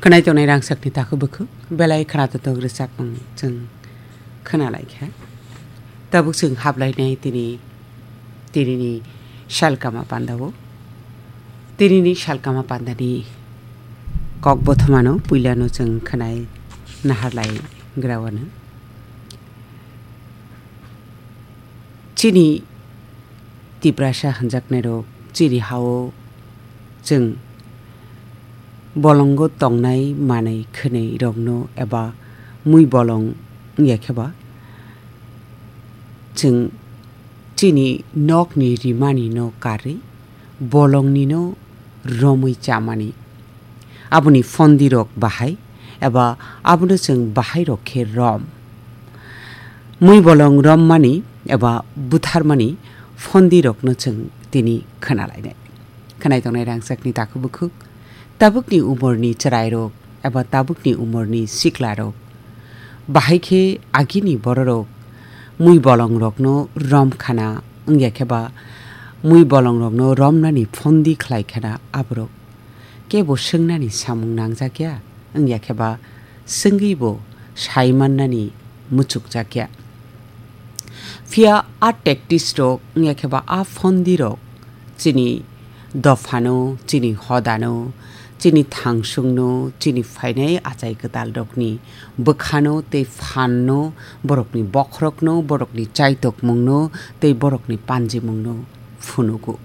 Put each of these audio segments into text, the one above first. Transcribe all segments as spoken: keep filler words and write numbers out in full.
Khwnai tongnai rangchakni takhuk bukhuk, belai khwnathok rwchapmung chwng khwnalaikha. Tabuk chwng hablainai tini, tinini salkama pandao. Tinini salkama pandani kok bothomano puilano chwng khwnai naharlai grawano. Chini Tiprasa hwnjaknairok chini hao chwng bolongo tongnai manwi khwnwi rokno eba mui bolong wngya khe ba chwng chini nokni rimani no karwi bolongni no romwi chamani. Aboni phondi rok bahai eba abono chwng bahai rok khe rom. Mui bolong rommani eba butharmani phondi rokno chwng tini khwnalainai. Khwnai tongnai rangchakni takhuk bukhuk, tabukni umorni chwrairok eba tabukni umorni siklarok. Bahai khe agini bororok mui bolongrokno rom khana wngya khe ba mui bolongrokno romnani phondi khlai khana aborok kebo swngnani samung nangjakya, wngya khe ba swngwi bo sai mannani muchukjakya. Phiya a tactics rok wngya khe ba a phondi rok chini dophano, chini hodano, chini thangsungno, chini phainai achai kwtal rokni bwkhano tei phanno, borokni bokhorokno, borokni chaitokmungno tei borokni panjimungno phunugo.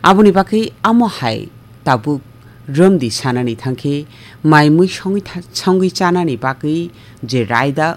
Aboni bagwi amo hai tabuk romdi sanani thangkhe mai mui songwi tha-, songwi chanani bagwi je raida